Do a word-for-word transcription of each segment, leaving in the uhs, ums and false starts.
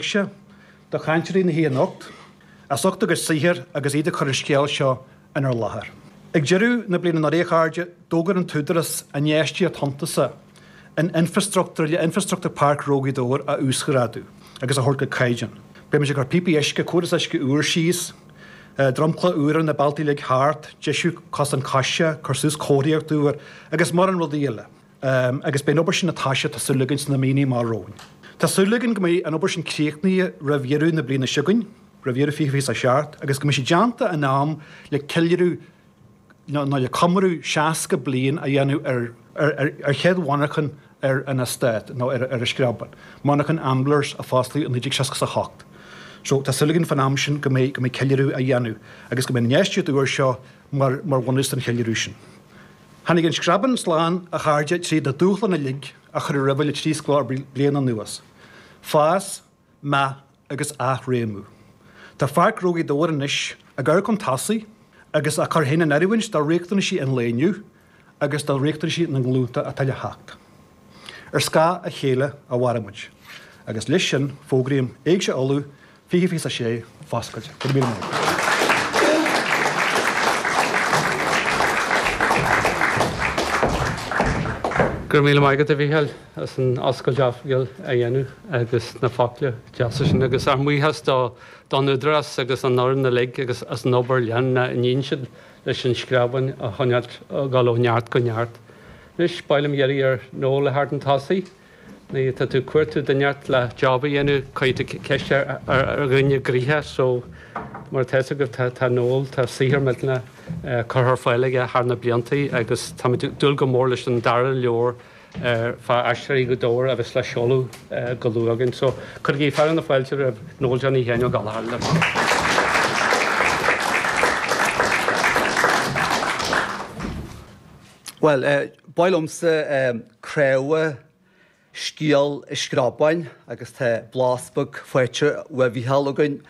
Éigse do chainteoirí na hoíche anocht, as ucht a gcuid saothair agus iad ag cur an scéal seo inár láthair. Ag deireadh na bliana anuraidh, a chairde, d'fhógair an tÚdarás infheistíocht shuntasach in infreastruchtúr le infreastruchtúr Páirc Ghnó Ghaoth Dobhair a uasghrádú agus a thabhairt go caighdeán. Beimid ag cur píopaí uisce, córas uisce úr síos, dromchla úr ar na bealtaí uilig thart, deisiú cosán coise, cur suas comharthaíocht úr agus mórán rudaí eile. Agus beidh an obair sin ag toiseacht, tá súil againn, sna míonna amach romhainn. Tá súil againn go mbeidh an obair sin críochnaithe roimh dheireadh na bliana seo chugainn, roimh dheireadh fiche fiche a seacht, agus go mbeidh sé déanta in am le ceiliúradh nó le comóradh seasca bliain a dhéanamh ar ar chéad mhonarchan ar an eastát nó ar an Screabán, monarchan Amblers a fosclaíodh i naoi déag seasca a hocht. So tá súil againn fán am sin go mbeidh go mbeidh ceiliúradh á dhéanamh agus go mbeidh an infheistíocht úr seo mar mar bhunús don cheiliúradh sin. Tháinig an Screabán slán, a chairde, tríd na dúshláin uilig a cuireadh roimhe le trí scór bliain anuas. Fás, meath agus athréimiú. Tá Pháirc Ghnó Ghaoth Dobhair anois ag amharc chun tosaigh agus á cur féin in oiriúint do riachtanaisí an lae inniu agus do riachtanaisí na nglúnta atá le theacht. Ar scáth a chéile a mhairfidh muid. Agus leis sin, fógraím Éigse Uladh fiche fiche a sé foscailte. Go raibh míle maith agat. Go raibh míle maith agat, a Mhícheáil, as an oscailt oifigiúil a dhéanamh agus na focla deasa sin agus ár mbuíochas do don Údarás agus an fhoireann uilig agus as an obair leanúnach a níonn siad leis an Screabán a choinneáilt ag dul ó neart go neart. Anois, ba mhaith liom iarraidh ar Noel a theacht chun tosaigh. Nuair atá tú ag cuartú duine inteacht le job a dhéanamh, cuirfidh tú ceist ar dhuine gnoitheach so mar atá fhios agaibh tá tá Noel, tá saothar millteanach curtha ar fáil aige thar na blianta agus táimid ag dúil go mór leis an dara leabhar fá Aisteoirí Ghaoth Dobhair a bheas le seoladh go luath againn. So cuirigí fearadh na fáilte roimh Noel Johnny Sheáin Ó Gallchóir. Bhuel, ba mhaith liomsa craobh scéal an Screabáin agus tá blas beag faighte uaidh Mhícheál againn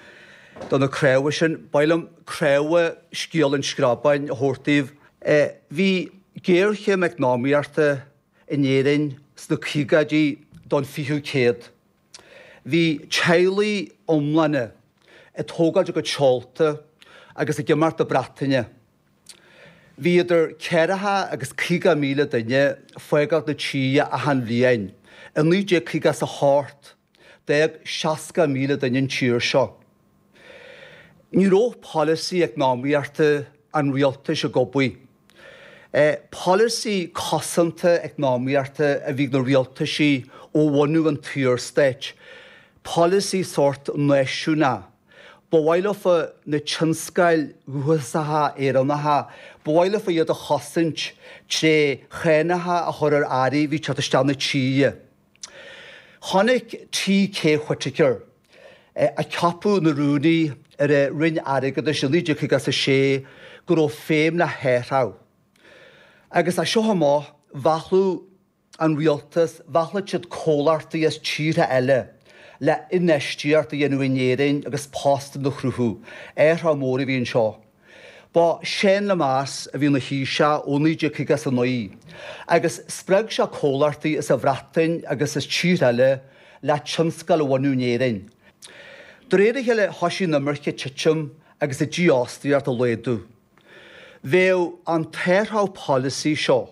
do na craobha sin. Ba mhaith liom craobh scéal an Screabáin a thabhairt daoibh. Bhí géarchéim eacnamaíochta in Éirinn sna caogaidí don fichiú céad. Bhí teaghlaigh iomlána ag tógáilt a gcuid seolta agus ag imeacht na Breataine. Bhí idir ceathracha agus caoga míle duine ag fágáilt na tíre achan bhliain. I naoi déag caoga is a hocht, d'fhág seasca míle duine an tír seo. Ní raibh polasaí eacnamaíochta an rialtais ag obair. Polasaí cosanta eacnamaíochta a bhí ag na rialtaisí ó bhunú an tSaorstáit, polasaí sórt náisiúnach. Ba mhaith leofa na tionscail dhúchasacha Éireannacha, ba mhaith leofa iad a chosaint tré chánacha a chur ar earraí a bhí ag teacht isteach na tíre. Chonaic T K Whitaker, a ceapadh ina rúnaí ar an Roinn Airgeadais i naoi déag caoga a sé, go raibh feidhm le hathrach. Agus as seo amach, mheallfadh an rialtas, mheallfadh siad comhlachtaí as tíortha eile le infheistíocht a dhéanamh in Éirinn agus postanna a chruthú. Athrach mór a bhí anseo. Ba Seán Lemass a bhí ina Thaoiseach ó naoi déag caoga a naoi agus spreag sé comhlachtaí as an Bhreatain agus as tíortha eile le tionscail a bhunú in Éirinn. De réir a chéile thoisigh an imirce ag titim agus an dífhostaíocht ag laghdú. Bheadh an t-athrach polasaí seo,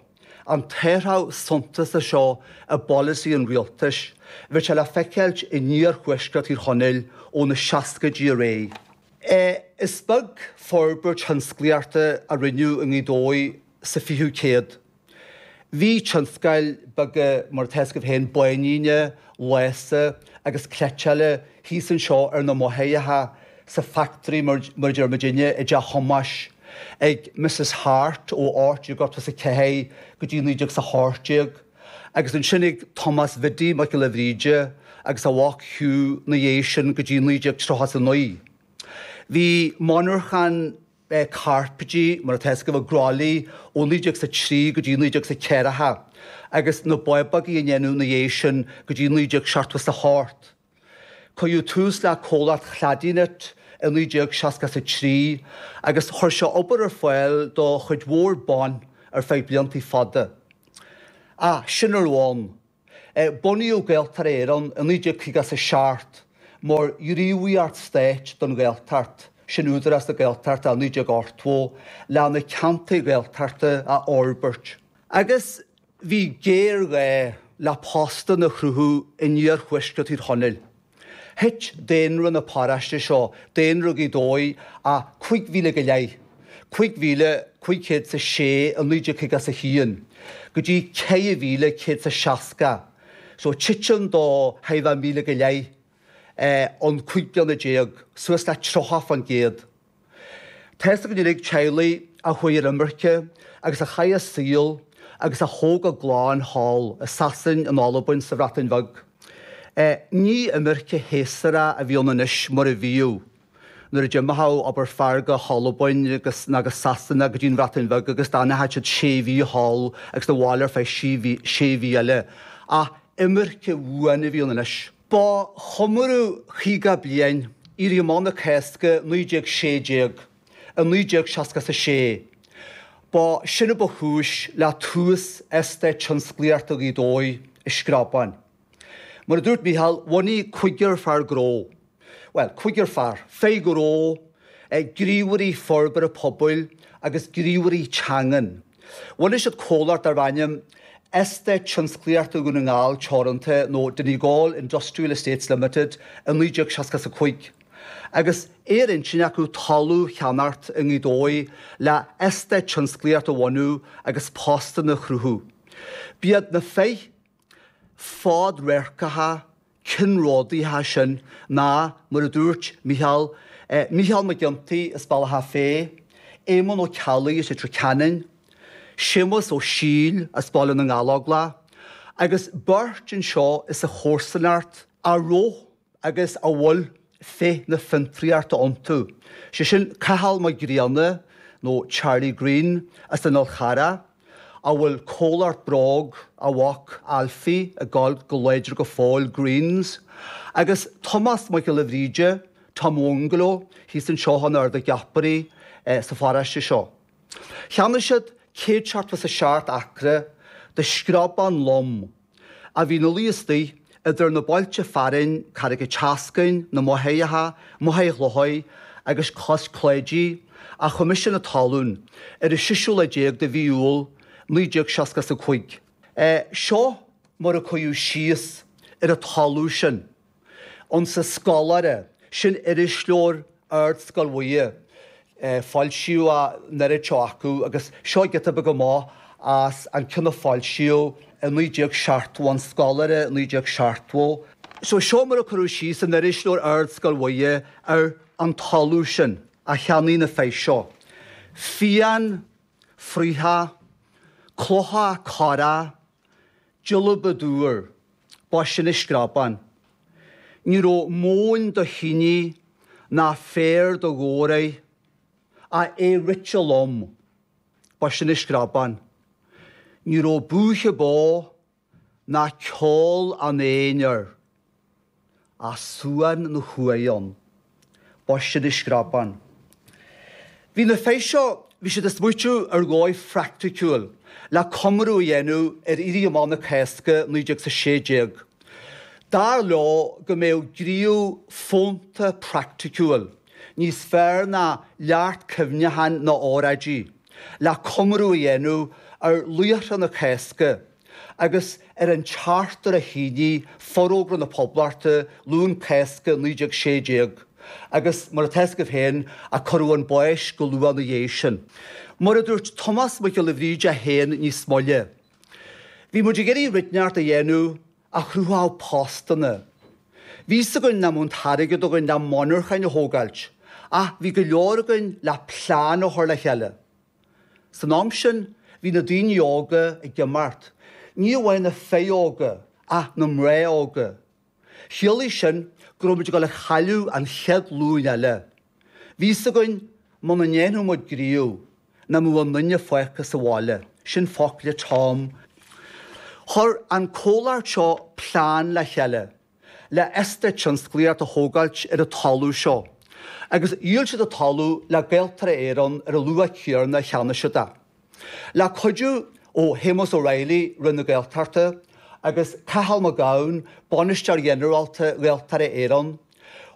an t-athrach suntasach seo i bpolasaí an rialtais, bheadh sé le feiceáilt in iarthuaisceart Thír Chonaill ó na seascaidí ar aghaidh. Is beag forbairt thionsclaíochta a rinneadh i nGaoth Dobhair sa fichiú céad. Bhí tionscail beaga, mar atá fhios agaibh féin, báiníne, lása agus cleiteála thíos anseo ar na Machaire, sa factory mar a deir muidinne i dTeach Thomáis, ag Missus Hart ó ocht déag ochtó is a ceathair go dtí naoi déag is a hocht déag, agus ansin ag Tomás Bhiddy Mac Giolla Bhríde agus a mhac Hugh 'na dhiaidh sin go dtí naoi déag tríocha is a naoi. Bhí monarchan cairpéidí, mar atá fhios agaibh, i gCroithlí ó naoi déag is a trí go dtí naoi déag is a ceathracha agus na bábógaí á ndéanamh ina dhiaidh sin go dtí naoi déag seachtó is a hocht. Cuireadh tús le comhlacht Cladyknit i naoi déag seasca is a trí agus chuir sé obair ar fáil do chuid mhór ban ar feadh blianta fada. Ach sin a raibh ann. Bunaíodh Gaeltarra Éireann i naoi déag caoga is a seacht mar ghníomhaíocht stáit don Ghaeltacht, sin Údarás na Gaeltachta naoi déag ochtó, le na ceantair Ghaeltachta a fhorbairt. Agus bhí géarghá le postanna a chruthú in iarthuaisceart Thír Chonaill. Thit daonra na paróiste seo, daonra Ghaoth Dobhair, ó cúig mhíle go leith, cúig mhíle cúig chéad is a sé i naoi déag caoga is a haon, go dtí ceithre mhíle céad is a seasca. So titim de cheithre mhíle go leith in cúig bliana déag, suas le tríocha fán gcéad. Tá's againn uilig teaghlaigh a chuaigh ar imirce agus a chaith a saol agus a thóg a gclann thall i Sasain, in Albain, sa Bhreatain Bheag. Ní imirce shéasúrach a bhí ann anois mar a bhíodh nuair a d'imíodh, abair, fear go hAlbain agus nó go Sasana go dtí an Bhreatain Bheag agus d'fhanadh siad sé mhí thall agus abhaile ar feadh sé mhí eile. Ach imirce bhuan a bhí ann anois. Ba chomóradh caoga bliain Éirí Amach na Cásca naoi déag sé déag i naoi déag seasca a sé. Ba sin a ba chúis le tús Eastát Tionsclaíochta Ghaoth Dobhair i Screabán. Mar a dúirt Mícheál, bhunaigh cúigear fear gnó, bhuel, cúigear fear, fir gnó, gníomhairí forbartha pobail agus gníomhairí teangan. Bhunaigh siad comhlacht darb ainm Eastát Tionsclaíochta Dhún na nGall Teoranta nó Donegal Industrial Estates Limited i naoi déag seasca a cúig agus é ar intinn acu talamh a cheannacht i nGaoth Dobhair le eastát tionsclaíochta a bhunú agus postanna a chruthú. B'iad na fir fadradharcacha ceannródaíocha sin ná, mar a dúirt Mícheál, Mícheál Mac Ginty as Bealach Féich, Éamonn Ó Ceallaigh as Leitir Ceanainn, Séamus Ó Siail as Baile na nGallóglach, agus beirt anseo as an chomharsanacht a raibh agus a bhfuil féith na fiontraíochta iontu, sé sin Cathal Mac Grianna nó Charlie Greene as an Fhál Charrach, a bhfuil comhlacht bróg a mhac Alfie ag gabháil go láidir go fóill, Greenes, agus Tomás Mac Giolla Bhríde, Tom Bhungalow, thíos anseo in Ard an Gheapaire sa pharóiste seo. Cheannaigh siad céad seachtó is a seacht acra de screabán lom a bhí ina luí istigh idir na bailte fearainn Carraig an tSeascainn, na Machaire, Machaire Chlochair agus Cois Cláidí, a Choimisiún na Talún ar an seisiú lá déag de mhí Iúil naoi déag seasca a cúig. Seo mar a cuireadh síos ar an talamh sin insa Scoláire, sin irisleabhar Ardscoil Mhuire. Foilsíodh an oiread seo acu agus seo giota beag amach as an ceann a foilsíodh i naoi déag seachtó, An Scoláire naoi déag seachtó. So seo mar a cuireadh síos in irisleabhar Ardscoil Mhuire ar an talamh sin a cheannaigh na fir seo. Fiáin, fraochach, clocha corra, deilbhe dúr, ba sin an Screabán. Ní raibh móin do thine ná féar do ghabhar air, ach é rite lom, ba sin an Screabán. Ní raibh búiche bó ná ceol an éin air, ach suan na huaighe ann, ba sin an Screabán. Bhí na fir seo, bhí siad ag smaoitiú ar dhóigh phraiticiúil le comóradh a dhéanamh ar Éirí Amach na Cásca naoi déag a sé déag. Dar leo go mbeadh gníomh fónta praiticiúil níos fearr ná leacht cuimhneacháin nó óráidí le comóradh a dhéanamh ar laochra na Cásca agus ar an tseachtar a shínigh Forógra na Poblachta, Luan Cásca naoi déag sé déag, agus mar atá a fhios agaibh féin, a cuireadh chun báis go luath ina dhiaidh sin. Mar a dúirt Tomás Mac Giolla Bhríde féin níos moille, Bhí muid ag iarraidh rud inteacht a dhéanamh a chruthódh postanna. Bhí fhios againn nach mbeadh an t-airgead againn le monarchain a thógáilt, ach bhí go leor againn le plean a chur le chéile. San am sin bhí na daoine óga ag imeacht, ní amháin na fir óga ach na mná óga. Chiallaigh sin go raibh muid ag dul a chailleadh an chéad ghlúin eile. Bhí fhios againn muna ndéanfadh muid gníomh nach mbeadh aon duine fágtha sa bhaile. Sin focla Tom. Chuir an comhlacht seo plean le chéile le eastát tionsclaíochta a thógáilt ar an talamh seo agus dhíol siad an talamh le Gaeltarra Éireann ar an luach céanna a cheannaigh siad é. Le cuidiú ó Shéamus O'Reilly, Roinn na Gaeltachta, agus Cathal Mac Gabhann, Bainisteoir Ghinearálta Ghaeltarra Éireann,